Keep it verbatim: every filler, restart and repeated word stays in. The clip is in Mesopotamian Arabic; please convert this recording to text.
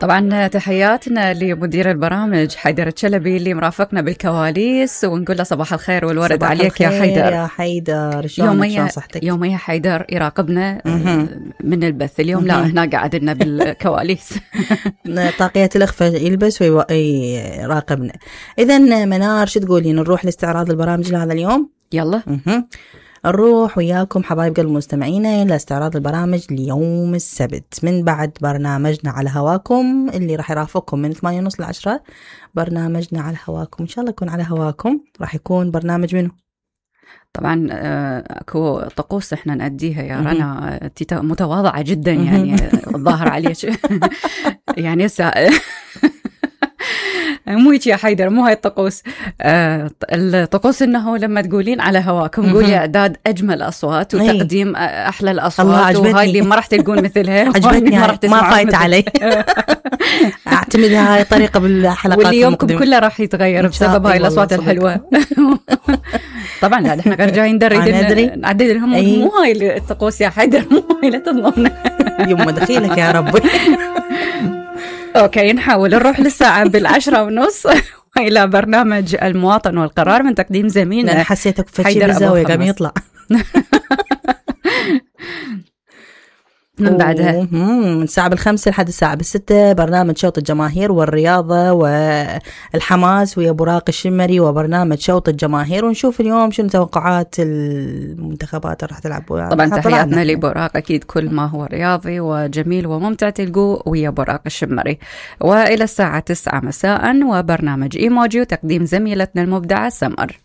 طبعا تحياتنا لمدير البرامج حيدر الشلبي اللي مرافقنا بالكواليس، ونقول له صباح الخير والورد صباح عليك يا حيدر. يا حيدر يوميا يوميا حيدر يراقبنا من البث، اليوم لا هنا قاعدنا بالكواليس. طاقية الإخفاء يلبس ويراقبنا. إذن منار شو تقولين، نروح لاستعراض البرامج لهذا اليوم؟ يلا نروح وياكم حبايب قلب مستمعينا لاستعراض البرامج ليوم السبت من بعد برنامجنا على هواكم اللي راح يرافقكم من ثمانية ونص لعشرة. برنامجنا على هواكم إن شاء الله يكون على هواكم. راح يكون برنامج منه طبعا اكو طقوس احنا نأديها يا رنا، متواضعة جدا يعني الظاهر عليك يعني هسه مو هيك يا حيدر، مو هاي الطقوس. آه الطقوس انه لما تقولين على هواكم قولي اعداد اجمل اصوات وتقديم احلى الاصوات، وهاي اللي ما راح تلقون مثلها. عجبتني ما, ما فايت علي. اعتمد هاي الطريقه بالحلقات واللي يومكم كله راح يتغير بسبب هاي الاصوات الحلوه. طبعا لا احنا غير جايين ندري نعدد لهم. مو هاي الطقوس يا حيدر، مو هاي، لا تظلمنا. يوم دخيلك يا ربي. أوكي نحاول نروح للساعة بالعشرة ونص إلى برنامج المواطن والقرار من تقديم زميلنا. أنا حسيتك فتشي بالزاوية قام يطلع من بعدها من الساعة بالخمسة لحد الساعة بالستة برنامج شوط الجماهير والرياضة والحماس ويا براق الشمري وبرنامج شوط الجماهير، ونشوف اليوم شنو توقعات المنتخبات راح تلعب. طبعا تحياتنا لبراق، أكيد كل ما هو رياضي وجميل وممتع تلقوه ويا براق الشمري. وإلى الساعة تسعة مساء وبرنامج إيموجي وتقديم زميلتنا المبدعة سمر.